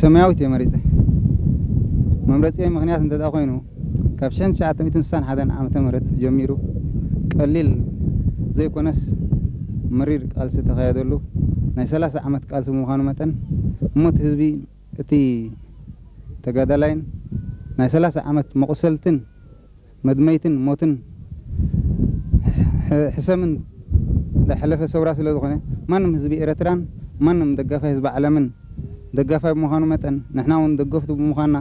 ሰማያዊት እየ መሪጸ። መምረጺ ምኽንያት እንተ ደኣ ኮይኑ፣ ካብ ሽሕን ትሽዓተ ሚእትን ስሳን ሓደን ዓመተ ምህረት ጀሚሩ ቀሊል ዘይኮነስ መሪር ቃልሲ ተኻየደሉ ናይ ሰላሳ ዓመት ቃልሲ ብምዃኑ መጠን፣ እሞ እቲ ህዝቢ፣ እቲ ተጋዳላይን ናይ ሰላሳ ዓመት መቑሰልትን መድመይትን ሞትን ሕ- ሕሰምን ዘሕለፈ ሰውራ ስለ ዝኾነ፣ ማንም ህዝቢ ኤረትራን ማንም ደጋፋይ ህዝቢ ዓለምን ደጋፋይ ብምዃኑ መጠን፣ ንሕና እውን ደገፍቱ ብምዃንና፣